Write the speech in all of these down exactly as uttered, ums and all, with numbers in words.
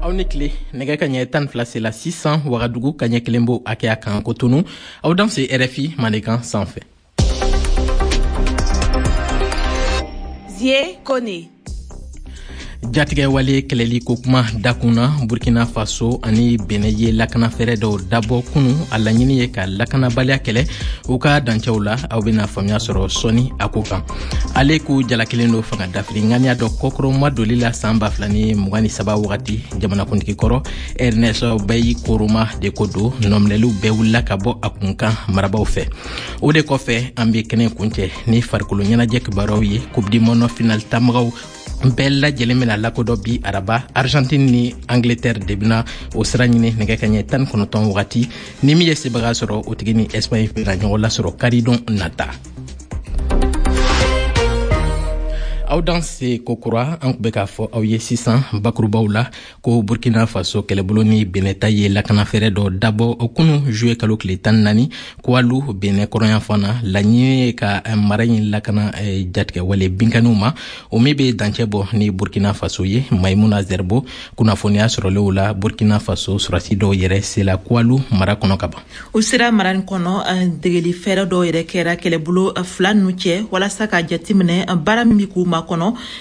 Aw ni tile. Nɛgɛ ka ɲɛ tan fila sela sisan Wagadugu, ka ɲɛ kelen bo hakɛya kan Kotonu. Aw danse R F I Mandenkan sanfɛ. Zie Kone. Jatigɛ wale kɛlɛli ko kuma dakun na, Burkina Faso ani Benɛ ye lakanafɛɛrɛ dɔw dabɔ kunu. A laɲini ye ka lakanabaliya kɛlɛ u ka dancɛw la. Aw bena faamuya sɔrɔ sɔni a ko kan. Ale k'u jalakilen do fanga dafiri ŋaniya dɔ kɔkɔrɔma doli la saan ba fila ni mugan ni saba wagati. Jamanakuntigi kɔrɔ Ernest Bai Koroma de ko do, nɔminɛliw bɛɛ wulila ka bɔ a kun kan marabaw fɛ. O de kɔfɛ, an be kɛnɛ kuncɛ ni farikolo ɲɛnajɛ kibaruyaw ye. Coupe du monde final tamagaw bɛɛ lajɛlen bena lakodɔn bi araba. Argentine ni Angleterre de bena o sira ɲini nɛgɛ ka ɲɛ tan kɔnɔntɔn wagati. Ni min ye sebaga sɔrɔ, o tigi ni Espagne bena ɲɔgɔn lasɔrɔ karidon nata. Aw danse kokura. An kun bɛ k'a fɔ aw ye sisan bakurubaw la ko Burkina Faso kɛlɛbolo ni Benɛta ye lakanafɛɛrɛ dɔ dabɔ o kunu, juye kalo tile tan naani, Kualu, Benɛ kɔrɔnyanfan na. Laɲini ye ka mara in lakana eh, jatigɛwale binkaniw ma, o min be dancɛ bɔ ni Burkina Faso ye. Maimuna Zerbo, kunnafoniya sɔrɔlenw la, Burkina Faso sɔrɔdasi dɔw yɛrɛ sela Kualu mara kɔnɔ ka ban. U sera mara nin kɔnɔ, degeli fɛɛrɛ dɔw yɛrɛ kɛra kɛlɛbolo fila ninnu cɛ walasa ka jateminɛ baara min bɛ k'u makɔnɔ.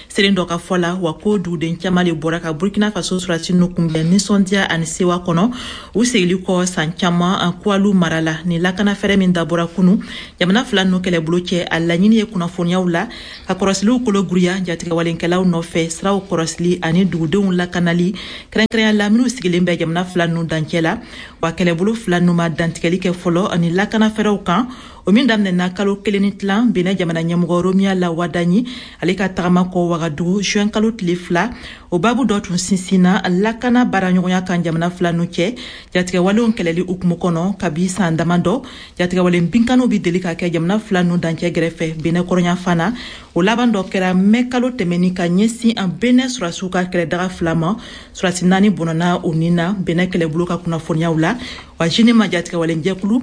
Seren dɔ ka fɔ la wa, ko duguden caman de bɔra ka Burkina Faso sɔrɔdasi ninnu kunbɛn nisɔndiya ani sewa kɔnɔ, u segili kɔ san caman Kualu mara la. Nin lakana fɛɛrɛ min dabɔra kunu jamana fila ninnu kɛlɛbolo cɛ, a laɲini ye kunnafoniyaw la ka kɔrɔsiliw kolo guruya jatigɛwalenkɛlaw nɔfɛ, siraw kɔrɔsili ani dugudenw lakanali, kɛrɛnkɛrɛnya la minnu sigilen bɛ jamana fila ninnu dancɛ la. Wa kɛlɛbolo fila ninnu ma dantigɛli kɛ fɔlɔ ani lakana fɛɛrɛw kan, o min daminɛna kalo kelen ni tilan Benɛ jamana ɲɛmɔgɔ Romuald Wadagni ale ka tagama kɔ Wagadugu juin kalo tile fila. O babu dɔ tun sinsinna lakana baaraɲɔgɔnya kan jamana fila nu cɛ, jatigɛwalenw kɛlɛli hukumu kɔnɔ. Kabi san dama dɔ, jatigɛwalen binkaniw bi deli ka kɛ jamana fila nu dancɛ gɛrɛfɛ Benɛ kɔrɔnyanfan na. O laban dɔ kɛra mɛ kalo tɛmɛni ka ɲɛsin an Benɛ sɔrɔdasiw ka kɛlɛdaga fila ma. Sɔrɔdasi naani bɔnɔna o nin na, Benɛ kɛlɛbolo ka kunnafoniyaw la. Wa JNIM jatigɛwalen jɛkulu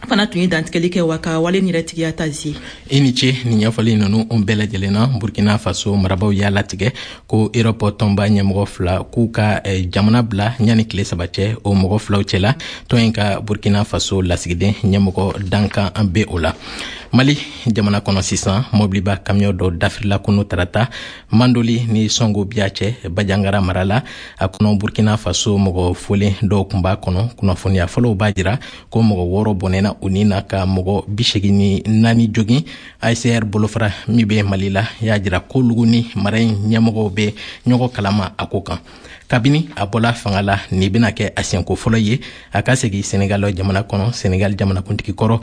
fana tun ye dantigɛli kɛ wa ka wale yɛrɛ tigiya ta zi. I ni ce nin ɲɛfɔli ninnu bɛɛ lajɛlen na. Burkina Faso marabaw y'a latigɛ ko Erɔpɔ tɔnba ɲɛmɔgɔ fila k'u ka eh, jamana bila ɲani tile saba cɛ. O mɔgɔ filaw cɛla, tɔn in ka Burkina Faso lasigiden ɲɛmɔgɔ dankan an be o la. Mali jamana kɔnɔ sisan, mɔbiliba kamiyɔn dɔ dafirila kunu tarata Mandoli ni Sɔngo Biya cɛ, Bajangara mara la. A kɔnɔ, Burkina Faso mɔgɔ folen dɔw kun b'a kɔnɔ. Kunnafoniya fɔlɔw b'a jira ko mɔgɔ wɔɔrɔ bɔnɛna u ni na, ka mɔgɔ bisegi ni naani jogin. A C R bolofara min bɛ Mali la y'a jira ko lugu ni mara in ɲɛmɔgɔw bɛ ɲɔgɔn kalama a ko kan. Kabini a bɔla fanga la, nin bɛna kɛ a siɲɛko fɔlɔ ye a ka segin Senegal jamana kɔnɔ. Senegal jamanakuntigi kɔrɔ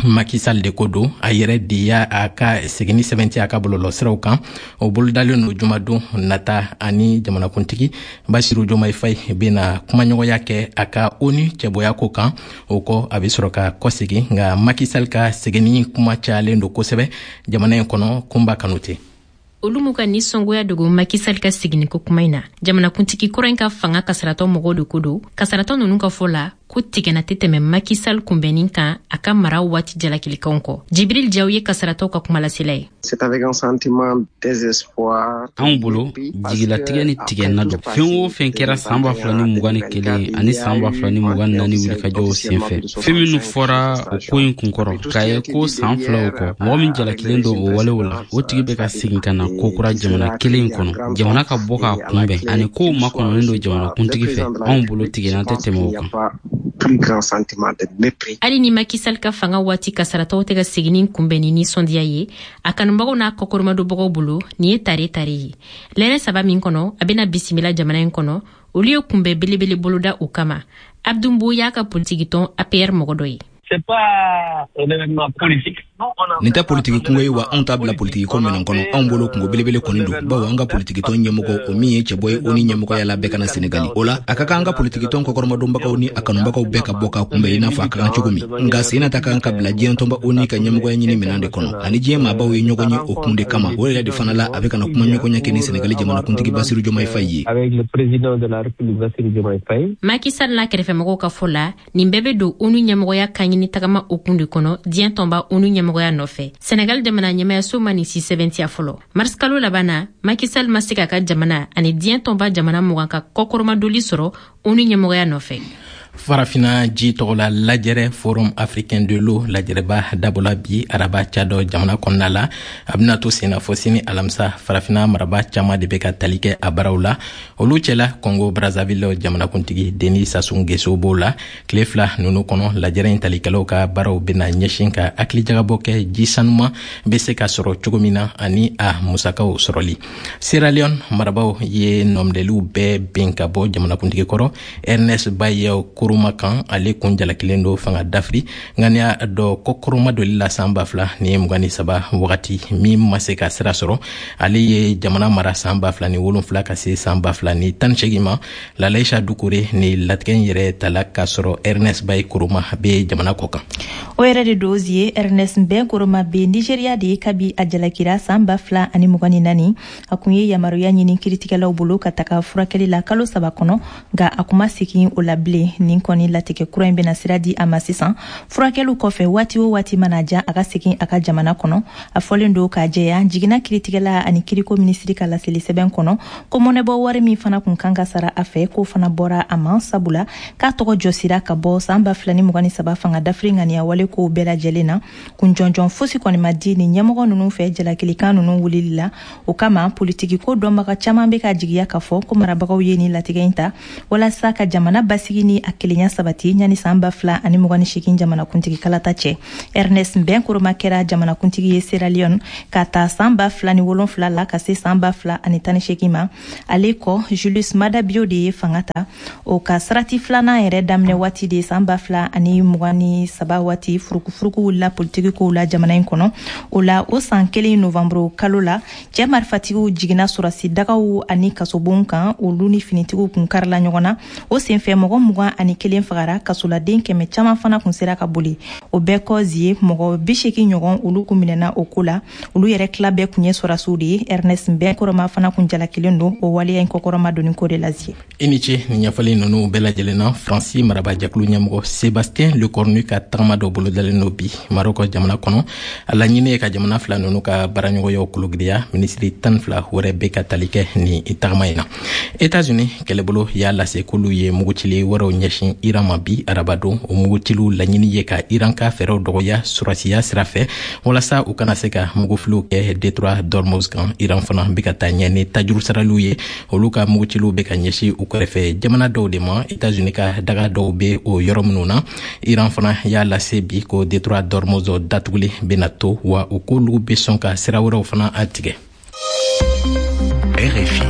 Macky Sall de ko don, a yɛrɛ de y'a a ka seginni sɛbɛnti a ka bɔlɔlɔsiraw kan. O bolodalen don jumadon nata, ani jamanakuntigi Basiru Jomayi Fayi bena kumaɲɔgɔnya kɛ a ka ONU cɛbɔya ko kan. O kɔ, a be sɔrɔ ka kɔsegin. Nka Macky Sall ka seginni kuma cayalen don kosɛbɛ jamana in kɔnɔ. Kunba Kanute. Olu m'u ka nisɔngoya dogo Macky Sall ka seginni ko kuma in na. Jamanakuntigi kɔrɔ in ka fanga kasaratɔ mɔgɔw de ko don. Kasaratɔ ninnu ka fɔ la ko tigɛna tɛ tɛmɛ Macky Sall kunbɛnnin kan a ka mara waati jalakilikanw kɔ. Jibril Jaw ye kasaratɔw ka kumalasela ye. Anw bolo, jigilatigɛ ni tigɛna don. Fɛn o fɛn kɛra saan ba fila ni mugan ni kelen ani saan ba fila ni mugan ni naani wulikajɔw senfɛ, fɛn minnu fɔra o ko in kunkɔrɔ, k'a ye ko saan filaw kɔ, mɔgɔ min jalakilen don o walew la, o tigi bɛ ka segin ka na kokura jamana kelen in kɔnɔ, jamana ka bɔ k'a kunbɛn ani kow makɔnɔnen don jamanakuntigi fɛ, anw bolo tigɛna tɛ tɛmɛ o kan. Hali ni Macky Sall ka fanga waati kasaratɔw tɛ ka seginni kunbɛn ni nisɔndiya ye a kanubagaw n'a kɔkɔrɔmadonbagaw bolo, nin ye tare tare ye. Lɛrɛ saba min kɔnɔ a bena bisimila jamana in kɔnɔ, olu ye kunbɛn belebele boloda o kama. Abdumbo y'a ka politikitɔn A P R mɔgɔ dɔ ye. Nin tɛ politiki kungo ye wa, anw t'a bila politiki ko minɛn kɔnɔ. Anw bolo, kungo belebele kɔni don, bawo an ka politikitɔn ɲɛmɔgɔ, o min ye cɛbɔ ye o ni ɲɛmɔgɔya la bɛɛ kana Senegali o la, a ka kan an ka politikitɔn kɔkɔrɔmadonbagaw ni a kanubagaw bɛɛ ka bɔ k'a kunbɛn i n'a fɔ a ka kan cogo min. Nka sen nata ka kan ka bila diɲɛ tɔnba ONU ka ɲɛmɔgɔya ɲini minɛn de kɔnɔ, ani diɲɛ maabaw ye ɲɔgɔn ye o kun de kama. O yɛrɛ de fana la, a bɛ kana kuma ɲɔgɔnya kɛ ni Senegali jamanakuntigi Basiru Jomayi Fayi ye. Macky Sall n'a kɛrɛfɛmɔgɔw ka fɔ la, nin bɛɛ bɛ don ONU ɲɛmɔgɔya ka ɲini. laɲini tagama hukumu de kɔnɔ diɲɛ tɔnba ONU ɲɛmɔgɔya nɔfɛ. Senegal jamana ɲɛmayaso ma nin si sɛbɛntiya fɔlɔ. Mars kalo laban na, Macky Sall ma se k'a ka jamana ani diɲɛ tɔnba jamana mugan ka kɔkɔrɔmadoli sɔrɔ ONU ɲɛmɔgɔya nɔfɛ. Farafina ji tɔgɔla lajɛrɛ Forum africain de l'eau lajɛrɛba dabɔla bi araba Tchad jamana kɔnɔna la. A bɛna to senna fɔ sini alamisa. Farafina maraba caman de bɛ ka tali kɛ a baaraw la, olu cɛla Congo Brazzaville jamanakuntigi Denis Sassou Nguesso b'o la. Tile fila ninnu kɔnɔ, lajɛrɛ in talikɛlaw ka baaraw bɛna ɲɛsin ka hakilijagabɔ kɛ ji sanuman bɛ se ka sɔrɔ cogo min na ani a musakaw sɔrɔli. Sierra Leone marabaw ye nɔminɛliw bɛɛ bin ka bɔ jamanakuntigi kɔrɔ Ernest Bai Koroma kan. Ale kun jalakilen don fanga dafiri ŋaniya dɔ kɔkɔrɔma doli la san ba fila ni mugan ni saba wagati min ma se ka sira sɔrɔ. Ale ye jamana mara san ba fila ni wolonfila ka se san ba fila ni tan ni seegin ma. Lalaisha Dukure ni latigɛ in yɛrɛ tala k'a sɔrɔ Ernest Bai Koroma bɛ jamana kɔ kan. O yɛrɛ de don ye Ernest Bai Koroma bɛ Nigeria de ye kabi a jalakira san ba fila ani mugan ni naani. A kun ye yamaruya ɲini kiiritigɛlaw bolo ka taga furakɛli la kalo saba kɔnɔ, nka a kun ma segin o la bilen. Nin kɔni latigɛ kura in bɛna sira di a ma sisan furakɛliw kɔfɛ, waati o waati mana ja, a ka segin a ka jamana kɔnɔ. A fɔlen don k'a jɛya jiginna kiiritigɛla ani kiriko minisiri ka laseli sɛbɛn kɔnɔ ko mɔnɛbɔ wari min fana kun kan ka sara a fɛ, k'o fana bɔra a ma, sabula k'a tɔgɔ jɔsira ka bɔ san ba fila ni mugan ni saba fanga dafiri ŋaniya wale kow bɛɛ lajɛlen na. Kun jɔnjɔn fosi kɔni ma di nin ɲɛmɔgɔ ninnu fɛ jalakilikan ninnu wulili la. O kama politiki ko dɔnbaga caman bɛ ka jigiya k'a fɔ ko marabagaw ye nin latigɛ in ta walasa ka jamana basigi ni a kelenya sabati ɲani san ba fila ani mugan ni seegin jamanakuntigi kalata cɛ. Ernest Bai Koroma kɛra jamanakuntigi ye Sierra Leone ka ta san ba fila ni wolonfila la ka se san ba fila ani tan ni seegin ma. Ale kɔ, Julius Maada Bio de ye fanga ta. O ka sarati filanan yɛrɛ daminɛ waati de san ba fila ani mugan ni saba waati, furukufuruku wulila politiki kow la jamana in kɔnɔ. O la, o san kelen novanburu kalo la, cɛ marifatigiw jiginna sɔrɔsi dagaw ani kasobon kan, olu ni finitigiw kun karila ɲɔgɔn na. O senfɛ mɔgɔ mugan ani kelen fagara, kasoladen kɛmɛ caman fana kun sera ka boli. O bɛɛ kɔ zie, mɔgɔ bi seegin ɲɔgɔn olu kun minɛna o ko la, olu yɛrɛ tila bɛɛ kun ye sɔrɔsiw de ye. Ernest Bai Koroma fana kun jalakilen don o waleya in kɔkɔrɔma donni ko de la zie. I ni ce nin ɲɛfɔli ninnu bɛɛ lajɛlen na. Faransi marabajɛkulu ɲɛmɔgɔ Sébastien Lecornu ka tagama dɔ bolodalen don bi Marɔkɔ jamana kɔnɔ. A laɲini ye ka jamana fila ninnu ka baaraɲɔgɔnyaw kologiriya. Minisiri tan fila wɛrɛ bɛ ka tali kɛ nin tagama in na. États-Unis kɛlɛbolo y'a lase k'olu ye mugutili wɛrɛw ɲɛsin Iran ma bi arabadon. O mugutiliw laɲini ye ka Iran ka fɛɛrɛw dɔgɔya sɔrɔsiya sira fɛ walasa u kana se ka mugufiliw kɛ détroit d'Ormuz kan. Iran fana bɛ ka taa ɲɛ ni tajuru saraliw ye. Olu ka mugutiliw bɛ ka ɲɛsin u kɛrɛfɛ jamana dɔw de ma, États-Unis ka daga dɔw bɛ o yɔrɔ minnu na. Iran fana y'a lase bi ko détroit d'Ormuz datuguli bɛna to, wa u k'olu bɛ sɔn ka sira wɛrɛw fana tigɛ. R F I.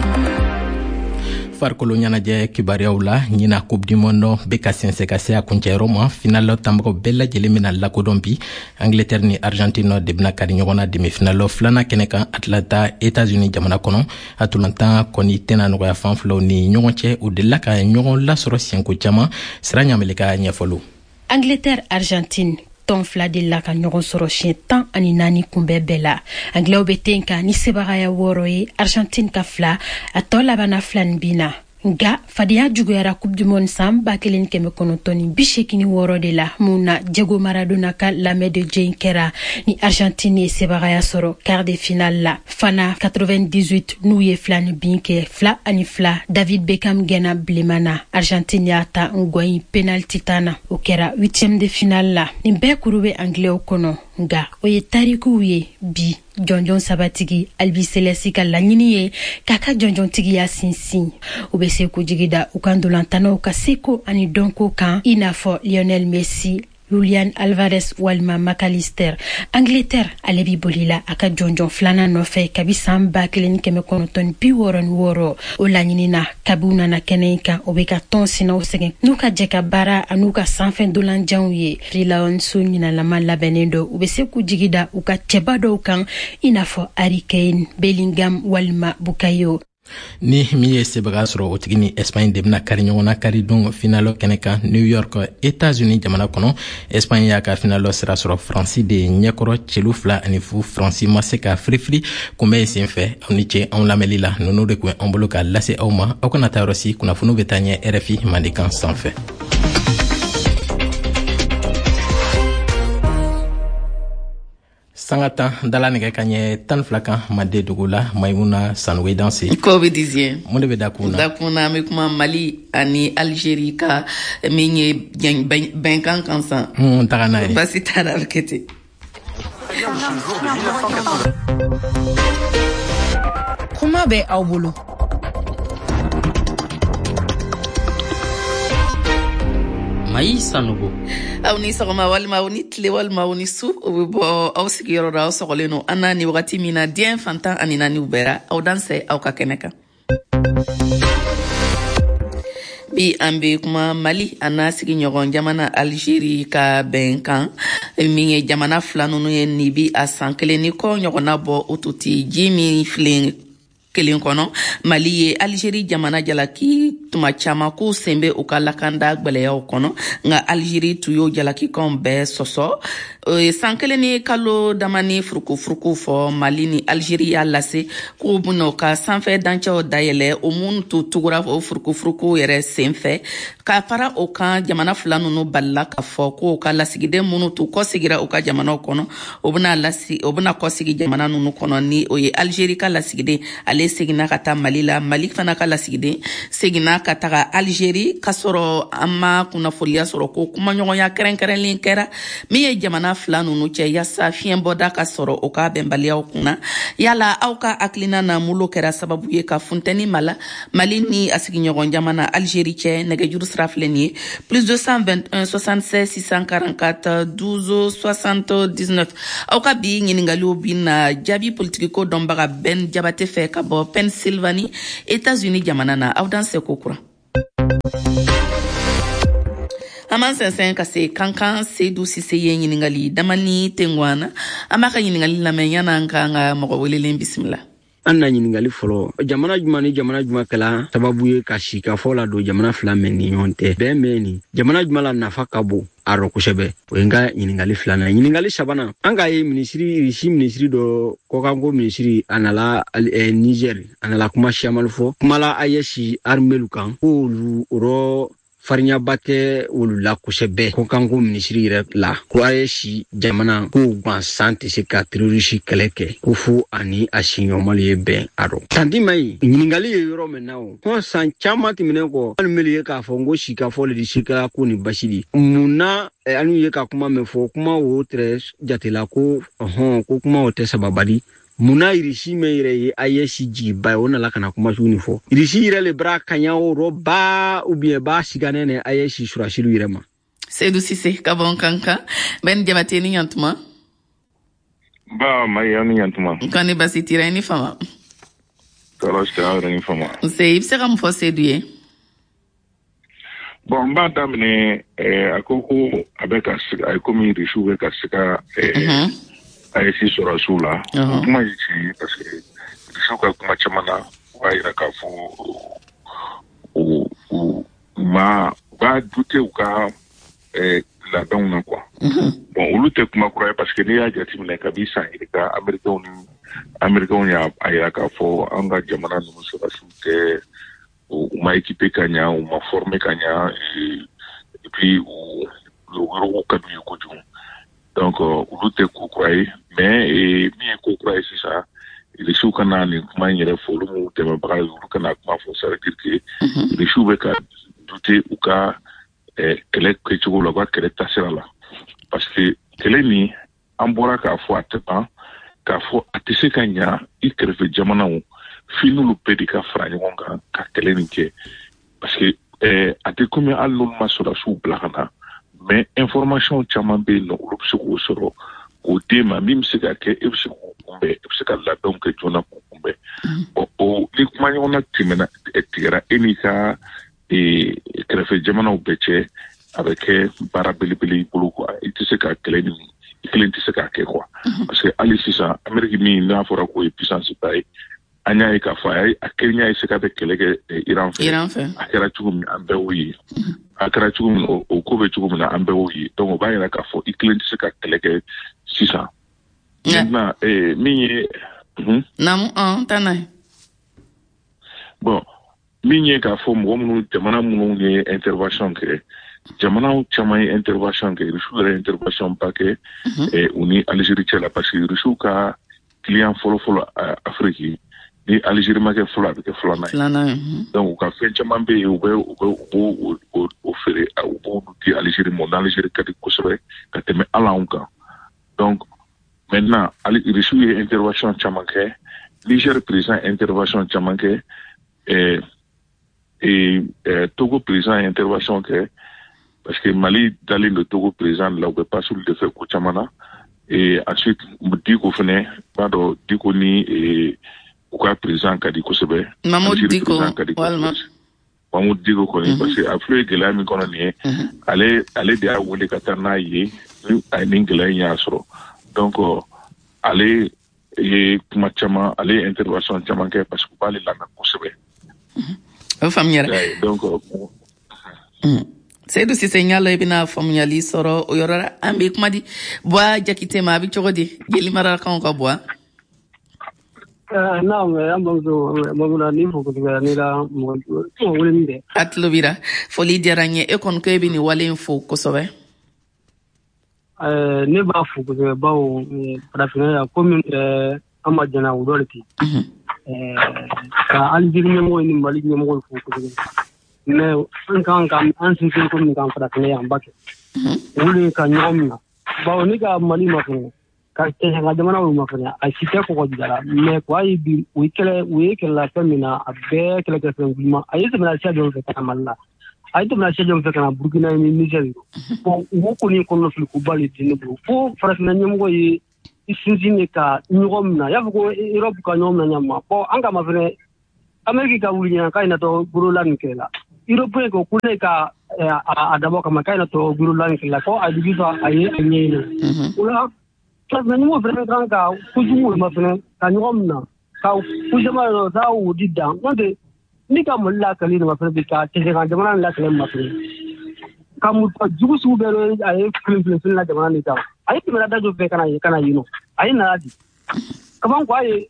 Farikolo ɲɛnajɛ kibaruyaw la, ɲina Coupe du monde bɛ ka sɛnsɛn ka se a kuncɛyɔrɔ ma. Final tanbagaw bɛɛ lajɛlen bɛna lakodɔn bi. Angleterre ni Argentine de bɛna kari ɲɔgɔn na demi final filanan kɛnɛ kan Atlanta, États-Unis jamana kɔnɔ. A tolantan kɔni tɛna nɔgɔya fan filaw ni ɲɔgɔn cɛ, u delila ka ɲɔgɔn lasɔrɔ siɲɛko caman. Sira ɲamele ka ɲɛfɔliw. Angleterre, Argentine, tɔn fila delila ka ɲɔgɔn sɔrɔ siɲɛ tan ani naani kunbɛ bɛɛ la. Anglɛw bɛ ten kan ni sebagaya wɔɔrɔ ye, Argentine ka fila, a tɔ labanna fila ni bin na. Nga fadenya juguyara Coupe du monde san ba kelen kɛmɛ kɔnɔntɔn ni bi seegin ni wɔɔrɔ de la, mun na Diego Maradona ka la main de Dieu kɛra ni Argentine ye sebagaya sɔrɔ quart de finale la. Fana quatre-vingt-dix-huit, n'u ye fila ni bin kɛ fila ani fila, David Beckham gɛnna bilenman na, Argentine y'a ta ngɔyin penalty tan na. O kɛra huitième de finale la. Nin bɛɛ kuru bɛ anglɛw kɔnɔ, nga o ye tarikuw ye. Bi jɔnjɔn sabatigi Albiceleste ka laɲini ye k'a ka jɔnjɔntigiya sinsin. U bɛ se k'u jigi da u ka ndolantannaw ka seko ani dɔnko kan, i n'a fɔ Lionel Messi, Julian Alvarez walima McAllister. Angleterre, ale bi bolila a ka jɔnjɔn filanan nɔfɛ kabi san ba kelen kɛmɛ kɔnɔntɔn bi wɔɔrɔ ni wɔɔrɔ. O laɲini na, kabi u nana kɛnɛ in kan, o bɛ ka tɔn sinaw sɛgɛn n'u ka jɛ ka baara an'u ka sanfɛ dolanjanw ye. Lions ɲinalama labɛnnen don, u bɛ se k'u jigi da u ka cɛba dɔw kan, i n'a fɔ Harry Kane, Bellingham walima Bukayo. Ni min ye sebaga sɔrɔ, o tigi ni Espagne de bɛna kari ɲɔgɔn na karidon finalo kɛnɛ kan New York, États-Unis jamana kɔnɔ. Espagne y'a ka finalo sira sɔrɔ Faransi de ɲɛkɔrɔ celu fila ani fu. Faransi ma se ka firifiri kunbɛn sen fɛ. Aw ni ce anw lamɛnli la. Ninnu de kun ye an bolo ka lase aw ma. Aw kana taa yɔrɔ si, kunnafoniw bɛ taa ɲɛ R F I mandekan sanfɛ. Sanga tan dala nɛgɛ ka ɲɛ tan fila kan Mande dugu la, Maimuna Sanogo danse. Ko bɛ diziɲɛ. Mun de bɛ dakun na? Dakun na, an bɛ kuma Mali ani Algérie ka min ye bɛnkan kan san. N taga n'a ye. Baasi t'a la, a bɛ kɛ ten. Kuma bɛ aw bolo. Mayi Sanogo. Aw ni sɔgɔma walima aw ni tile walima aw ni su, o bɛ bɔ aw sigiyɔrɔ la, aw sɔgɔlen don an na ni wagati min na diɲɛ fantan ani naaniw bɛɛ aw dansɛ aw ka kɛnɛ kan. Bi an bɛ kuma Mali a n'a sigiɲɔgɔn jamana Algérie ka bɛnkan min ye jamana fila ninnu ye nin bi a san kelen ni kɔ ɲɔgɔnna bɔ o tun tɛ ji min filen kelen kɔnɔ. Mali ye Algérie jamana jalaki tuma caman k'u sen bɛ u ka lakanda gwɛlɛyaw kɔnɔ, nka Algérie tun y'o jalakikanw bɛɛ sɔsɔ. San kelen ni kalo damani furukufuruku fɔ, Mali ni Algérie y'a lase k'u bɛna u ka sanfɛ dancɛw dayɛlɛ, o minnu tun tugura o furukufuruku yɛrɛ sen fɛ. Ka fara o kan, jamana fila ninnu balila k'a fɔ k'u ka lasigiden minnu tun kɔsegira u ka jamanaw kɔnɔ, o bɛna lasi o bɛna kɔsegi jamana ninnu kɔnɔ, ni o ye Algérie ka lasigiden ale seginna ka taa Mali la, Mali fana ka lasigiden seginna ka taga Algérie, k'a sɔrɔ an ma kunnafoniya sɔrɔ ko kumaɲɔgɔnya kɛrɛnkɛrɛnlen kɛra min ye jamana fila ninnu cɛ yaasa fiɲɛbɔda ka sɔrɔ o ka bɛnbaliyaw kunna. Yala aw ka hakilina na mun kɛra sababu ye ka funteni mala Mali ni a sigiɲɔgɔn jamana Algérie cɛ? Nɛgɛjuru sira filɛ nin ye plus deux cent vingt-et-un soixante-seize six cent quarante-quatre douze soixante-dix-neuf. Aw ka bi ɲininkaliw bi na jaabi politikiko dɔnbaga Ben Jabate fɛ ka bɔ Pennsylvanie, États-Unis jamana na. Aw dan seko kura. An b'an sɛnsɛn ka se Kankan Seydou Cissé ye ɲininkali damani tengwana. An b'a ka ɲininkali lamɛn yan'an k'an ka mɔgɔ welelen bisimila. An na ɲininkali fɔlɔ, jamana jumɛn ni jamana jumɛn kɛla sababu ye ka sikafɔ la don jamana fila mɛn ni ɲɔgɔn tɛ bɛn mɛn ni jamana jumɛn la nafa ka bon a rɔ kosɛbɛ? O ye n ka ɲininkali filanan. Ɲininkali sabanan, an k'a ye minisiri Irisi minisiri dɔ kɔkanko minisiri a nala eh, Niger, a nala kuma siyaman fɔ kumala A E S armelu kan k'olu o rɔ farinyaba tɛ olu la kosɛbɛ kɔkanko minisiri yɛrɛ la, ko A E S jamana k'o gansan tɛ se ka terrorisi kɛlɛ kɛ ko fo ani a siɲɔgɔnmalu ye bɛn a rɔ. Tanti Mayi, ɲininkali ye yɔrɔ min na o kɔn san caman tɛmɛnen kɔ, hali meli ye k'a fɔ n ko sikafɔ le di sikala ko ni basi di mun na anu ye ka kuma min fɔ, kuma o tɛrɛ jatela ko ɔhɔn ko kuma o tɛ sababali. Munna Irisi min yɛrɛ ye A E S jigiba ye o nana ka na kuma sugu nin fɔ? Irisi yɛrɛ le bara kaɲa o rɔ ba ou bien ba siganen ne A E S surasilu yɛrɛ ma. Seydou Cissé ka bɔ Kankan. Ben Jabate ni ɲantuma. Ba Mayi, aw ni ɲantuma. Kɔni basi tira, i ni fama. Tɔɔrɔ si tɛ, aw yɛrɛ ni fama. Nse, i bɛ se ka mun fɔ Seydou ye? Bon, n b'a daminɛ a ko ko a bɛ ka siga, a ye komi Irisiw bɛ ka siga A E S sɔrɔsiw la. O kuma ye tiɲɛ ye parce que Irisiw ka kuma caman na, u b'a yira k'a fɔ u u ma u b'a douter u ka labɛnw na quoi. Bon, olu tɛ kuma kura ye parce que n'i y'a jateminɛ kabi san yirika, Américains ni Américains y'a yira k'a fɔ an ka jamana ninnu sɔrɔsiw tɛ, u ma équipé ka ɲa, u ma formé ka ɲa, et puis u yɔrɔw ka d'u ye kojugu. Donc olu tɛ ko kura ye, mais min ye ko kura ye sisan, Irisiw ka na nin kuma in yɛrɛ fɔ, olu m'u dɛmɛbaga ye, olu kana kuma fɔ, ça veut dire que Irisiw bɛ ka douter u ka kɛlɛ kɛcogo la, u ka kɛlɛ taasira la, parce que kɛlɛ nin an bɔra k'a fɔ a tɛ ban, k'a fɔ a tɛ se ka ɲa i kɛrɛfɛ jamanaw f'i n'olu bɛɛ de ka fara ɲɔgɔn kan ka kɛlɛ nin kɛ, parce que a tɛ komi hali n'olu ma sɔrɔdasiw bila ka na, mais information caman bɛ yen nɔ, olu bɛ se k'o sɔrɔ k'o d'e ma, min bɛ se ka kɛ e bɛ se k'o kunbɛn, e bɛ se ka labɛnw kɛ joona k'o kunbɛn. Bon, o ni kumaɲɔgɔnna tɛmɛna tigɛra e n'i ka kɛrɛfɛ jamanaw bɛɛ cɛ, a bɛ kɛ baara belebele i bolo quoi. I tɛ se ka kɛlɛ nin i kelen tɛ se k'a kɛ quoi, parce que hali sisan Amérique min n'a fɔra k'o ye puissance ba ye, an y'a ye k'a fɔ a ye a kelen y'a ye se k'a bɛ kɛlɛ kɛ Iran fɛ, a kɛra cogo min an bɛɛ y'o ye, a kɛra cogo min o ko bɛ cogo min na an bɛɛ y'o ye. Donc o b'a yira k'a fɔ i kelen tɛ se ka kɛlɛ kɛ sisan. Maintenant min ye. Naamu, ɔn taa n'a ye. Bon, min ye k'a fɔ mɔgɔ minnu jamana minnu ye intervention kɛ, Jamanaw caman ye intervention kɛ, Rusiw yɛrɛ intervention ba kɛ u ni Algérie cɛ la, parce que Rusiw ka client fɔlɔ-fɔlɔ Afrique ni Algérie ma kɛ fɔlɔ, a bɛ kɛ filanan ye. Donc u ka fɛn caman bɛ yen, u bɛ u bɛ u b'o o feere, u b'olu di Algérie ma, n'Algérie ka di kosɛbɛ ka tɛmɛ hali anw kan. Donc maintenant Rusiw ye intervention caman kɛ, Niger président intervention caman kɛ, eh, eh, Togo président intervention kɛ, parce que Mali dalen don Togo président la, u bɛ passer de fɛ ko caman na. Et ensuite Diko fɛnɛ, b'a dɔn Diko ni eh, u ka président ka di kosɛbɛ. Mahmoud Diko walima Mahmoud Diko kɔni, parce que a filɛ ye gɛlɛya min kɔnɔ nin ye, ale ale de y'a wele ka taa n'a ye, ni a ye nin gɛlɛya in y'a sɔrɔ. Donc ale ye kuma caman, ale ye intervention caman kɛ, parce que u b'ale lamɛn kosɛbɛ. O faamuyara. Donc Seydou Cissé, n y'a lɔn i bɛna faamuyali sɔrɔ o yɔrɔ la. An bɛ kuma di Buwa Jakite ma, a bɛ cogo di Jelimarakaw ka Buwa? Naam, an bamuso Mamuna, ni fo kosɛbɛ, ne la mɔgɔ wele min kɛ. A tulo b'i la, foli diyara n ye. E kɔni ko e bɛ nin wale in fo kosɛbɛ. Ne b'a fo kosɛbɛ, bawo farafinna yan komi an ma jɛna o dɔ de ten. Ka Algérie ɲɛmɔgɔ ni Mali ɲɛmɔgɔ fo kosɛbɛ. Mais an kan ka an sinsin ko min kan farafinna yan ba kɛ. Olu de ka ɲɔgɔn minɛ. Bawo ne ka Mali ma fɛnɛ, ka ka jamana olu ma fɛnɛ, a si tɛ kɔgɔjida la. Mais ko a ye bi u ye kɛlɛ, u ye kɛlɛla fɛn min na, a bɛɛ kɛlɛ kɛ fɛn gulima. A ye tɛmɛna siya jɔn fɛ ka na Mali la, a ye tɛmɛna siya jɔn fɛ ka na Burukina ni Niger. Bon, u kɔni kɔnɔfili koba de di ne bolo. Fo farafinna ɲɛmɔgɔ ye i sinsin de ka ɲɔgɔn minɛ. I y'a fɔ ko Europe ka ɲɔgɔn minɛ ɲama. Bon, an kama fɛnɛ Amérique ka wuli ɲɛna k'a ɲɛnatɔ gorola nin kɛlɛ la. Européen ko ko ne ka a dabɔ kama k'a ɲɛnatɔ gorola nin kɛlɛ la, ko a jigi fa a ye a ɲɛɲini. O la farafinna ɲɛmɔgɔ fɛnɛ kan ka kojugu ma fɛnɛ ka ɲɔgɔn minɛ ka ko caman yɔrɔ taa o di dan. N'o tɛ ni ka Mali lakali nin ma fɛnɛ bi ka cɛsɛkan jamana nin lakali ma fɛnɛ ka muso jugu sugu bɛɛ a ye filin filin filin la jamana nin kan. A ye tɛmɛna da jɔ fɛ ka na yen ka na yen nɔ, a ye nana di kaban ko a ye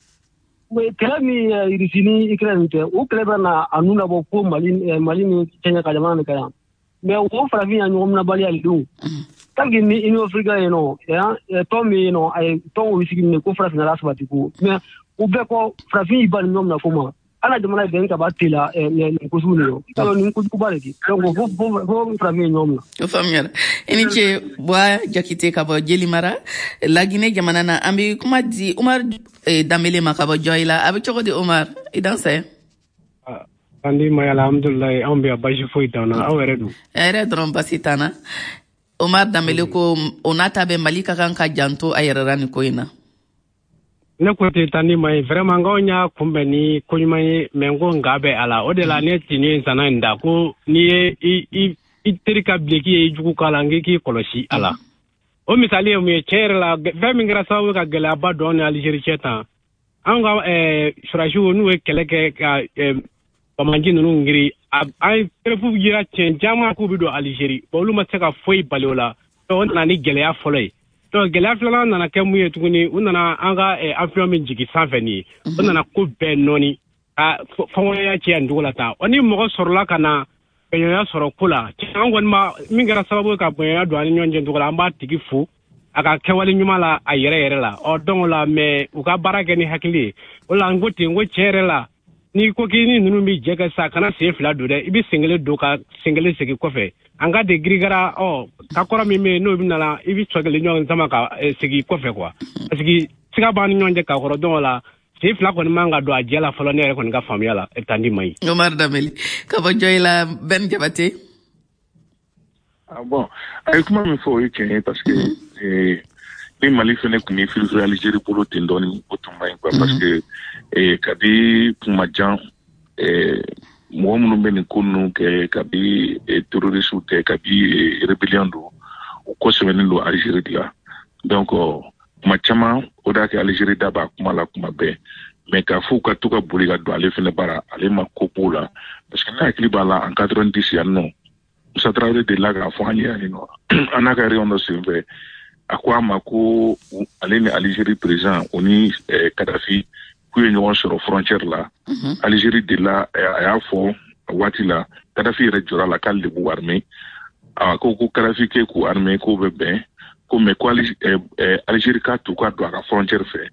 kɛlɛ min Irisi ni Ukraine tɛ, o kɛlɛ bɛ na a nun labɔ ko Mali Mali ni cɛɲɛ ka jamana nin kan yan. Mais o farafin ya ɲɔgɔn minɛbaliya de don. Tant que ni Union africaine yen nɔ, tɔn min yen nɔ, a ye tɔn o sigi minɛ ko farafinna la sabati ko. Mais o bɛɛ kɔ farafin y'i ba ni ɲɔgɔn minɛ ko ma. Ala jamana bɛn ka ba tela nin ko sugu nin ye. Nin kojuguba de di. Donc fo fo farafin ye ɲɔgɔn minɛ. O faamuyara. I ni ce Buwa Jakite ka bɔ Jelimara, Laginɛ jamana na. An bɛ kuma di Umar Danbele ma ka bɔ Jɔyila. A bɛ cogo di Umar? I dansɛ. Andi ma, alhamdulilayi, anw bɛ yan, basi foyi t'an na. Aw yɛrɛ dun? A yɛrɛ dɔrɔn basi t'an na. Omar Danbele ko o n'a ta bɛ Mali ka kan ka janto a yɛrɛ la nin ko in na. Ne ko ten tandi ma ye, vraiment n k'anw y'a kunbɛn ni ko ɲuman ye, mais n ko nka bɛ a la. O de la ne tini ye zana in da ko n'i ye i i i teri ka bileki ye i jugu k'a la, n k'i k'i kɔlɔsi a la. O misali ye mun ye? Tiɲɛ yɛrɛ la, fɛn min kɛra sababu ye ka gɛlɛyaba don ni Algérie cɛ tan, anw ka sɔrɔdasiw n'u ye kɛlɛ kɛ ka bamanji ninnu giri, an ye preuve yira tiɲɛ caman k'u bɛ don Algérie, bon olu ma se ka foyi bali o la. Donc o nana ni gɛlɛya fɔlɔ ye. Donc gɛlɛya filanan nana kɛ mun ye tuguni? U nana an ka avion min jigin sanfɛ nin ye, o nana ko bɛɛ nɔɔni ka fɔnkɔɲɔgɔnya cɛya nin cogo la tan. Ɔ ni mɔgɔ sɔrɔla ka na bɛnɲɔgɔnya sɔrɔ ko la, an kɔni ma min kɛra sababu ye ka bɛnɲɔgɔnya don an ni ɲɔgɔn cɛ cogo la, an b'a tigi fo a ka kɛwale ɲuman la a yɛrɛ yɛrɛ la. Ɔ donc o la, mais u ka baara kɛ ni hakili ye. O la n ko ten, n ko tiɲɛ yɛrɛ la, n'i ko k'i ni ninnu bɛ jɛ kɛ sa, kana sen fila don dɛ, i bɛ sen kelen don ka sen kelen segin kɔfɛ. An ka de girigara, ɔ ka kɔrɔ min bɛ yen n'o bɛ nana, i bɛ sɔ kelen ɲɔgɔn sama ka segin kɔfɛ quoi, parce que siga b'an ni ɲɔgɔn cɛ ka kɔrɔ. Donc o la sen fila kɔni man ka don a jɛ la fɔlɔ, ne yɛrɛ kɔni ka faamuya la, tandi ma ɲi. Omar Danbele ka bɔ Jɔyila, Ben Jabate. Ah bon, a ye kuma min fɔ o ye tiɲɛ ye, parce que ni Mali fɛnɛ tun ye firifiri Algérie bolo ten dɔɔni, o tun man ɲi quoi, parce que kabi kuma jan mɔgɔ minnu bɛ nin ko ninnu kɛ, kabi terroriste tɛ, kabi rébellion don, u kɔsɛbɛnnen don Algérie de la. Donc kuma caman o de y'a kɛ Algérie da b'a kuma la kuma bɛɛ, mais k'a fɔ u ka to ka boli ka don ale fɛnɛ bara, ale ma ko b'o la, parce que ne hakili b'a la en quatre-vingt-dix yan nɔ, Musa Tarawele delila k'a fɔ an ye yan nɔ, an n'a ka réunion dɔ senfɛ, a ko a ma ko ale ni Algérie président o ni Kadhafi k'u ye ɲɔgɔn sɔrɔ frontière la. Algérie delila a y'a fɔ a waati la, Kadhafi yɛrɛ jɔra la k'ale de b'u armée. A ko ko Kadhafi k'e k'u armée k'o bɛ bɛn ko, mais ko Algérie k'a to ka don a ka frontière fɛ,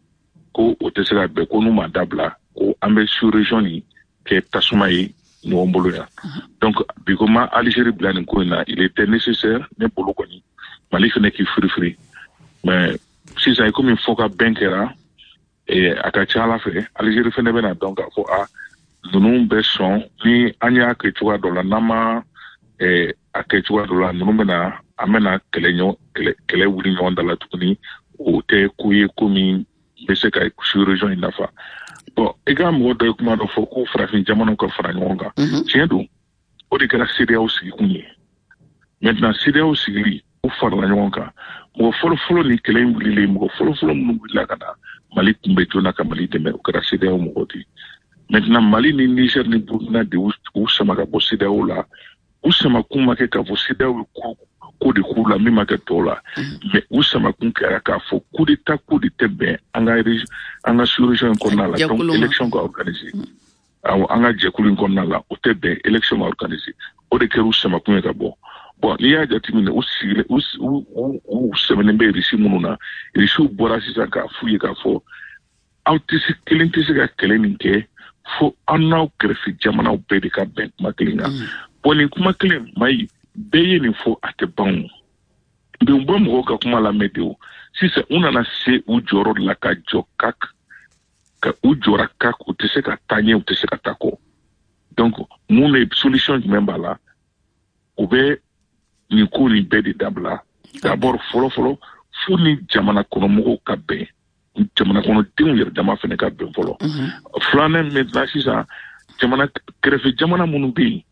ko o tɛ se ka bɛn, ko n'u ma dabila, ko an bɛ sous-région nin kɛ tasuma ye ɲɔgɔn bolo yan. Donc bi ko ma Algérie bila nin ko in na, il était nécessaire ne bolo kɔni Mali fɛnɛ k'i firifiri. Mais sisan i komi fɔ ka bɛn kɛra, a ka ca ala fɛ Algérie fɛnɛ bɛna dɔn k'a fɔ a ninnu bɛ sɔn ni an y'a kɛ cogoya dɔ la, n'an ma a kɛ cogoya dɔ la, ninnu bɛna an bɛna kɛlɛ ɲɔgɔn kɛlɛ kɛlɛ wuli ɲɔgɔn da la tuguni. O tɛ ko ye ko min bɛ se ka sous-région in nafa. Bon, i ka mɔgɔ dɔ ye kuma dɔ fɔ ko farafin jamanaw ka fara ɲɔgɔn kan. Tiɲɛ don, o de kɛra CEDEAO sigikun ye. Maintenant CEDEAO sigili, u farala ɲɔgɔn kan. Mɔgɔ fɔlɔfɔlɔ ni kɛlɛ in wulilen, mɔgɔ fɔlɔfɔlɔ minnu wulila ka na Mali kunbɛ joona ka Mali dɛmɛ, o kɛra CEDEAO mɔgɔw de ye. Maintenant Mali ni Niger ni Burkina de u sama ka bɔ CEDEAO la. U samakun ma kɛ k'a fɔ CEDEAO ye ko ko de k'u la min ma kɛ tɔw la, mais u samakun kɛra k'a fɔ coup d'état ko de tɛ bɛn an ka an ka sous-région in kɔnɔna la. Donc élection ka organiser, awɔ, an ka jɛkulu in kɔnɔna la, o tɛ bɛn, élection ka organiser, o de kɛra u samakun ye ka bɔ. Bon, n'i y'a jateminɛ, u sigilen u u u sɛmɛnen bɛ Irisi minnu na, Irisiw bɔra sisan k'a f'u ye k'a fɔ aw tɛ se, kelen tɛ se ka kɛlɛ nin kɛ fo aw n'aw kɛrɛfɛ jamanaw bɛɛ de ka bɛn kuma kelen kan. Bon, nin kuma kelen mayi bɛɛ ye nin fɔ, a tɛ ban o. Mais u bɛ mɔgɔw ka kuma lamɛn de o. Sisan u nana se u jɔyɔrɔ de la ka jɔ kak ka u jɔra kak, u tɛ se ka taa ɲɛ, u tɛ se ka taa kɔ. Donc mun de solution jumɛn b'a la? U bɛ nin ko nin bɛɛ de dabila d'abord. Fɔlɔ fɔlɔ, fo ni jamana kɔnɔmɔgɔw ka bɛn, jamana kɔnɔdenw yɛrɛ dama fɛnɛ ka bɛn fɔlɔ. Filanan, maintenant sisan jamana kɛrɛfɛ jamana minnu bɛ yen,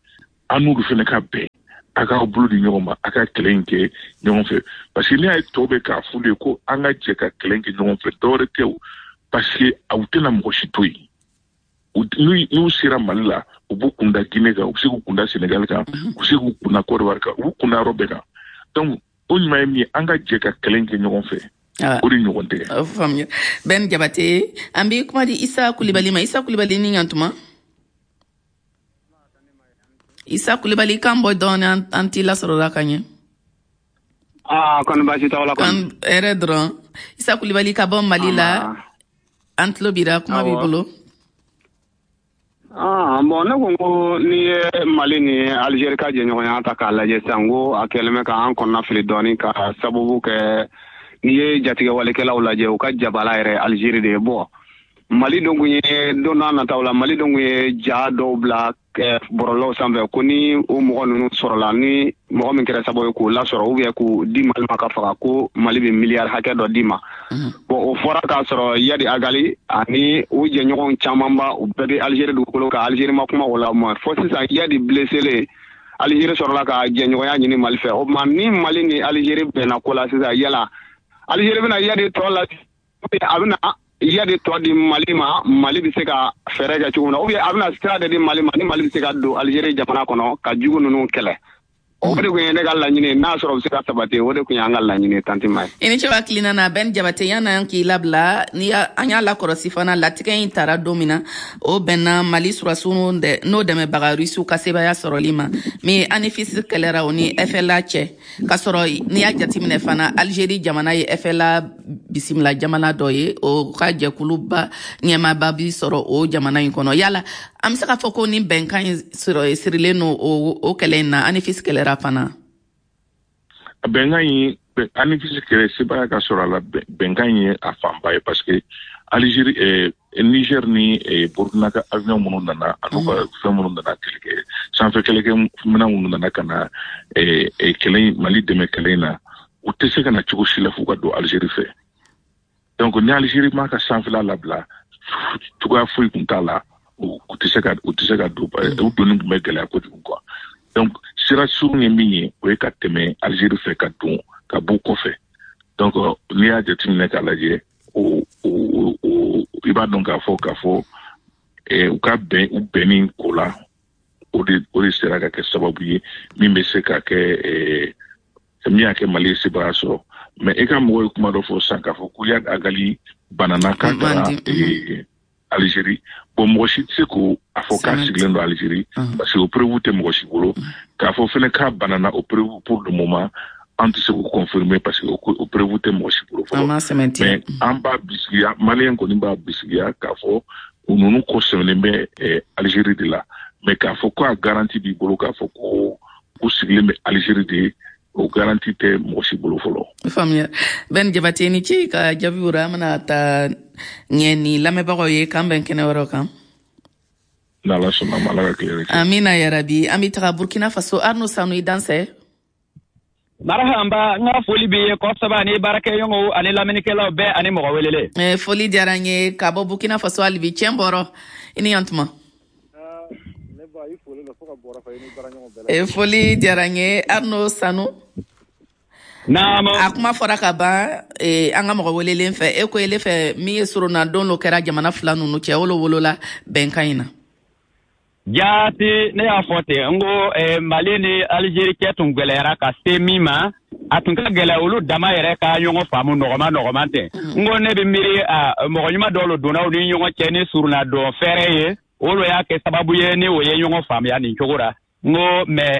an n'olu fɛnɛ ka bɛn, a k'aw bolo di ɲɔgɔn ma, a ka kɛlɛ in kɛ ɲɔgɔn fɛ. Parce que n'i y'a ye tɔw bɛ k'a f'u ye ko an ka jɛ ka kɛlɛ in kɛ ɲɔgɔn fɛ, dɔwɛrɛ tɛ o, parce que aw tɛna mɔgɔ si to yen. N'u sera Mali la, u b'u kunda Guinée kan, u bɛ se k'u kunda Sénégal kan, u bɛ se k'u kunda Côte d'Ivoire kan, u b'u kunda yɔrɔ bɛɛ kan. Donc o ɲuman ye min ye, an ka jɛ ka kɛlɛ in kɛ ɲɔgɔn fɛ, o de ɲɔgɔn tɛ. O faamuya. Ben Jabate, an bɛ kuma di Isa Kulibali ma. Isa Kulibali, ni ɲantuma. Isa Kulibali, kan bɔ dɔɔni, an t'i lasɔrɔla ka ɲɛ. Aa, kɔni baasi t'aw la kɔni? Hɛrɛ dɔrɔn. Isa Kulibali ka bɔ Mali la, an tulo b'i la, kuma b'i bolo. Ah, bon, ne ko ko n'i ye Mali ni Algérie ka jɛɲɔgɔnya ta k'a lajɛ sisan, ko a kɛlen bɛ k'an kɔnɔna fili dɔɔni, ka sababu kɛ n'i ye jatigɛwalekɛlaw lajɛ, u ka jabala yɛrɛ Algérie de ye. Bon, Mali dun kun ye don n'a nataw la, Mali dun kun ye ja dɔw bila bɔlɔlɔw sanfɛ ko ni o mɔgɔ ninnu sɔrɔla, ni mɔgɔ min kɛra sababu ye k'o lasɔrɔ ou bien k'o di Mali ma ka faga, ko Mali bɛ miliyari hakɛ dɔ d'i ma. Bon, o fɔra k'a sɔrɔ Iyad Ag Ghali ani u jɛɲɔgɔn camanba, u bɛɛ bɛ Algérie dugukolo kan. Algérie ma kuma o la ma fo sisan Iyad blessé, Algérie sɔrɔla ka jɛɲɔgɔnya ɲini Mali fɛ. O tuma ni Mali ni Algérie bɛnna ko la sisan, yala Algérie bɛna Iyad tɔ la, a bɛna Iyad tɔ di Mali ma, Mali bɛ se ka fɛɛrɛ kɛ cogo min na, ou bien a bɛna sira de di Mali ma ni Mali bɛ se ka don Algérie jamana kɔnɔ ka jugu ninnu kɛlɛ? O de kun ye ne ka laɲini, n'a sɔrɔ u bɛ se ka sabati, o de kun y'an ka laɲini, tanti ma ye. I ni ce hakilina na. Ben Jabate, yan'an k'i labila, ni an y'a lakɔlɔsi fana, latigɛ in tara don min na, o bɛnna Mali surasiw n'o dɛmɛbaga Rusiw ka sebaya sɔrɔli ma min Anefis kɛlɛra o ni F L A cɛ. K'a sɔrɔ n'i y'a jateminɛ fana, Algérie jamana ye F L A bisimila jamana dɔ ye, o ka jɛkuluba ɲɛmaaba bi sɔrɔ o jamana in kɔnɔ. Yala an bɛ se k'a fɔ ko ni bɛnkan in sɔrɔ sirilen don o o kɛlɛ in na, Anefis kɛlɛra fana? Bɛnkan in, Anefis kɛlɛ sebaya ka sɔrɔ a la, bɛnkan in ye a fanba ye, parce que Algérie, eh, Niger ni eh, Burkina ka avion minnu nana, an'u ka fɛn minnu nana, kɛlɛkɛ sanfɛ kɛlɛkɛ minɛn minnu nana ka na eh, eh, kɛlɛ Mali dɛmɛ kɛlɛ in na, u tɛ se ka na cogo si la f'u ka don Algérie fɛ. Donc ni Algérie ma ka sanfɛla labila, cogoya foyi tun t'a la, u tɛ se ka u tɛ se ka don, u donni tun bɛ gɛlɛya kojugu quoi. Donc sira surun ye min ye, o ye ka tɛmɛ Algérie fɛ ka don ka b'u kɔfɛ. Donc n'i y'a jateminɛ k'a lajɛ, o o o i b'a dɔn k'a fɔ k'a fɔ u ka bɛn u bɛnni ko la, o de o de sera ka kɛ sababu ye min bɛ se ka kɛ min y'a kɛ Mali ye sebaya sɔrɔ. Mais e ka mɔgɔw ye kuma dɔ fɔ sisan k'a fɔ ko Iyad Ag Ghali banana k'a taara Algérie. Bon, mɔgɔ si tɛ se k'o a fɔ k'a sigilen don Algérie, parce que o preuve tɛ mɔgɔ si bolo. K'a fɔ fɛnɛ k'a banana, o preuve, pour le moment, an tɛ se k'o confirmer, parce que o preuve tɛ mɔgɔ si bolo fɔlɔ. Mais an b'a bisigiya, maliyɛn kɔni b'a bisigiya k'a fɔ u ninnu kɔ sɛmɛnen bɛ Algérie de la. Mais k'a fɔ ko a garantie b'i bolo k'a fɔ ko u sigilen bɛ Algérie de, o garantie tɛ mɔgɔ si bolo fɔlɔ. Faamuya. Ben Jabate, ni ce ka jaabi wora. An bɛna taa ɲɛ ni lamɛnbagaw ye. K'an bɛn kɛnɛ wɛrɛw kan. N'Ala sɔnna ma, Ala ka tile. Amina yarabi. An bɛ taga Burkina Faso. Arno Sanu, i dansɛ. Marahaba, n ka foli b'i ye kosɛbɛ, ani baarakɛɲɔgɔnw ani lamɛnnikɛlaw bɛɛ ani mɔgɔ welele. Foli diyara n ye ka bɔ Burkina Faso hali bi. Tiɲɛ bɔrɔ, i ni yan tuma. Foli diyara n ye, Arno Sanu. Naamu. A kuma fɔra ka ban an ka mɔgɔ welelen fɛ. E ko ele fɛ min ye soronadon dɔ kɛra jamana fila ninnu cɛ, o lo wolola bɛnkan in na. Jaati, ne y'a fɔ ten, n ko Mali ni Algérie cɛ tun gɛlɛyara ka se min ma, a tun ka gɛlɛ olu dama yɛrɛ ka ɲɔgɔn faamu nɔgɔma nɔgɔman tɛ. N ko ne bɛ miiri a mɔgɔ ɲuman dɔw lo donna u ni ɲɔgɔn cɛ ni surunadon fɛɛrɛ ye, o lo y'a kɛ sababu ye ni o ye ɲɔgɔn faamuya nin cogo la. N ko mais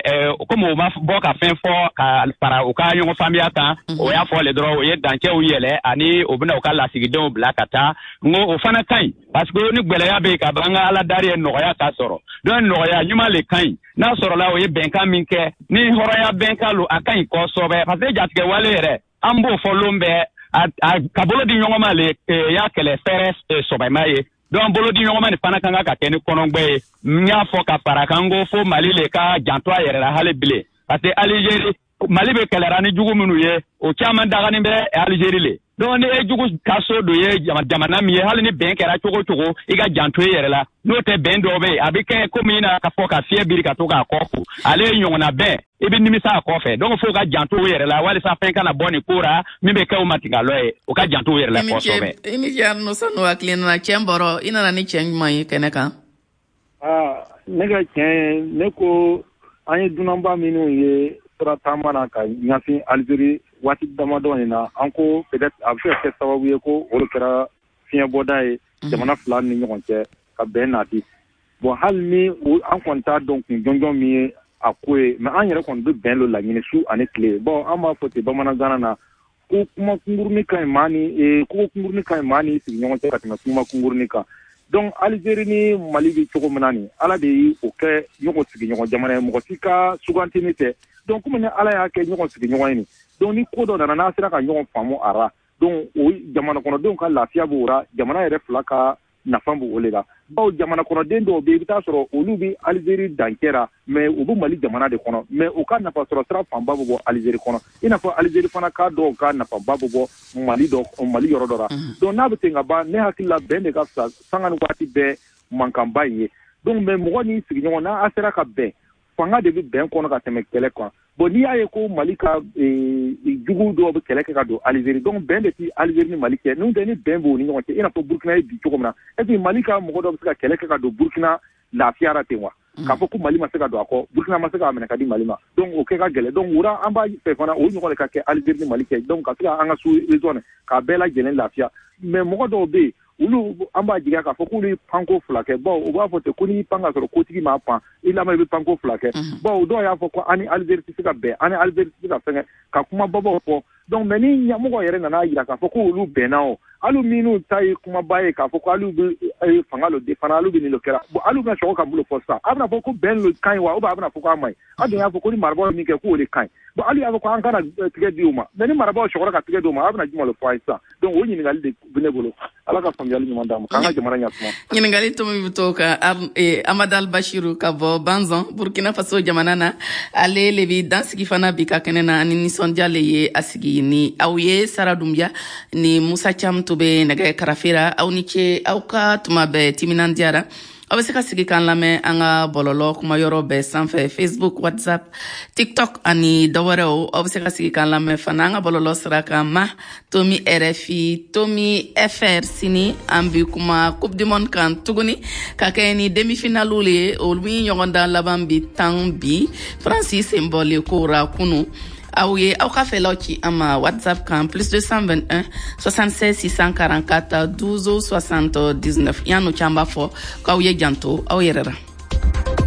komi o ma bɔ ka fɛn fɔ ka fara u ka ɲɔgɔn faamuya kan, o y'a fɔ le dɔrɔn o ye dancɛw yɛlɛ ani o bɛna u ka lasigidenw bila ka taa. N ko o fana ka ɲi, parce que ni gɛlɛya bɛ yen ka ban, an ka Ala dari ye nɔgɔya ka sɔrɔ. Donc nɔgɔya ɲuman le ka ɲi n'a sɔrɔla o ye bɛnkan min kɛ, ni hɔrɔnya bɛnkan lo, a ka ɲi kosɛbɛ, parce que jatigɛ wale yɛrɛ, an b'o fɔ lon bɛɛ, a ka bolo di ɲɔgɔn ma le y'a kɛlɛ fɛɛrɛ sɔbɛma ye. Donc bolo di ɲɔgɔn ma nin fana kan ka kɛ ni kɔnɔgbɛ ye. N y'a fɔ ka fara kan, ko fo Mali le ka janto a yɛrɛ la hali bilen, parce que Algérie, Mali bɛ kɛlɛra ni jugu minnu ye, o caman daganin bɛ Algérie le. Donc ni e jugu ka so dɔ ye jamana min ye, hali ni bɛn kɛra cogo cogo, i ka janto i yɛrɛ la. N'o tɛ, bɛn dɔw bɛ yen, a bɛ kɛ komi i na ka fɔ ka fiɲɛ biri ka to k'a kɔ ko ale ye ɲɔgɔnna bɛn, i bɛ nimisa a kɔfɛ. Donc fo ka janto u yɛrɛ la walisa fɛn kana bɔ nin ko ra min bɛ kɛ u matingalɔ ye. U ka janto u yɛrɛ la kosɛbɛ. I ni ce, Arno Sanu. Hakili nana cɛ bɔrɔ, i nana ni cɛ ɲuman ye kɛnɛ kan. Aa, ne ka tiɲɛ, ne ko an ye dunanba minnu ye sira taama na ka ɲɛsin Algérie waati damadɔ in na, an ko peut-être a bɛ se ka kɛ sababu ye ko o de kɛra fiɲɛbɔda ye jamana fila ni ɲɔgɔn cɛ ka bɛn nati. Bon, hali ni an kɔni t'a dɔn kun jɔnjɔn min ye a ko ye, mais an yɛrɛ kɔni bɛ bɛn lo laɲini su ani tile. Bon, an b'a fɔ ten bamanankan na ko kuma kunkurunin ka ɲi maa ni ko kunkurunin ka ɲi maa ni sigiɲɔgɔn cɛ ka tɛmɛ kuma kunkurunin kan. Donc Algérie ni Mali bɛ cogo min na nin, Ala de ye o kɛ ɲɔgɔn sigiɲɔgɔn jamana ye, mɔgɔ si ka sugantini tɛ. Donc komi ni Ala y'a kɛ ɲɔgɔn sigiɲɔgɔn ye nin, donc ni ko dɔ nana n'a sera ka ɲɔgɔn faamu a ra, donc o jamana kɔnɔdenw ka lafiya b'o ra, jamana yɛrɛ fila ka nafa b'o le la. Bawo jamana kɔnɔden dɔw bɛ yen, i bɛ taa sɔrɔ olu bɛ Algérie dancɛ ra, mais u bɛ Mali jamana de kɔnɔ, mais u ka nafa sɔrɔ sira fanba bɛ bɔ Algérie kɔnɔ, i n'a fɔ Algérie fana ka dɔw ka nafaba bɛ bɔ Mali dɔ Mali yɔrɔ dɔ la. Donc n'a bɛ ten ka ban, ne hakili la bɛn de ka fisa sanga ni waati bɛɛ mankanba in ye. Donc mais mɔgɔ n'i sigiɲɔgɔn n'a sera ka bɛn, fanga de bɛ bɛn kɔnɔ ka tɛmɛ kɛlɛ kan. Bon, n'i y'a ye ko Mali ka jugu dɔw bɛ kɛlɛ kɛ ka don Algérie, donc bɛn de tɛ Algérie ni Mali cɛ. N'o tɛ, ni bɛn b'u ni ɲɔgɔn cɛ, i n'a fɔ Burkina ye bi cogo min na, est ce que Mali ka mɔgɔ dɔ bɛ se ka kɛlɛ kɛ ka don Burkina lafiyara ten wa? K'a fɔ ko Mali ma se ka don a kɔ, Burkina ma se k'a minɛ ka di Mali ma, donc o kɛ ka gɛlɛn. Donc wura an b'a fɛ fana o ɲɔgɔn de ka kɛ Algérie ni Mali cɛ, donc ka se ka an ka sous-région k'a bɛɛ lajɛlen lafiya. Mais mɔgɔ dɔw bɛ yen, olu an b'a jigiya k'a fɔ k'olu ye panko fila kɛ. Bawo u b'a fɔ ten ko n'i pan ka sɔrɔ kotigi m'a pan i lamɛn, i bɛ panko fila kɛ. Bawo dɔw y'a fɔ ko an ni Algérie tɛ se ka bɛn, an ni Algérie tɛ se ka fɛngɛ, ka kuma babaw fɔ. Donc mais ni ɲɛmɔgɔ yɛrɛ nana yira k'a fɔ ko olu bɛnna, o hali minnu ta ye kumaba ye k'a fɔ ko hali bɛ fanga lo fana, hali bɛ nin lo kɛra. Bon, hali bɛna sɔgɔ ka bolo fɔ sisan, a bɛna fɔ ko bɛn lo ka ɲi wa, ou bien a bɛna fɔ k'a ma ɲi? An dun y'a fɔ ko ni marabaaw ye min kɛ k'o de ka ɲi. Bon, hali y'a fɔ ko an kana tigɛ di u ma, mais ni marabaaw sɔgɔra ka tigɛ di u ma, a bɛna jumɛn lo fɔ an ye sisan? Donc o ɲininkali de bɛ ne bolo. Ala ka faamuyali ɲuman d'an ma k'an ka jamana ɲɛsuma. Ɲininkali to min bɛ to kan, Amadal Bashiru ka bɔ Banzan, Burkina Faso jamana na, ale le bi dansigi fana bi ka kɛnɛ na ani nisɔndiya le ye a sigi ni aw ye. Sara Dumbuya ni Musa Cam to bɛ nɛgɛ karafe ra. Aw ni ce, aw ka tuma bɛɛ timinandiyara. Aw bɛ se ka sigi k'an lamɛn an ka bɔlɔlɔ kumayɔrɔ bɛɛ sanfɛ, Facebook, WhatsApp, TikTok ani dɔwɛrɛw. Aw bɛ se ka sigi k'an lamɛn fana an ka bɔlɔlɔ sira kan, ma tomi R F I tomi F R. Sini an bi kuma Coupe du Monde kan tuguni ka kɛ ni demi-finale le ye, olu min ɲɔgɔndan laban bi tan bi. Faransi sen bɔlen ko ra kunu. Aw ye aw ka fɛlaw ci an ma WhatsApp kan plus deux cent vingt et un soixante-seize six cent quarante-quatre douze soixante-dix-neuf. Yan'o cɛ, an b'a fɔ k'aw ye janto aw yɛrɛ la.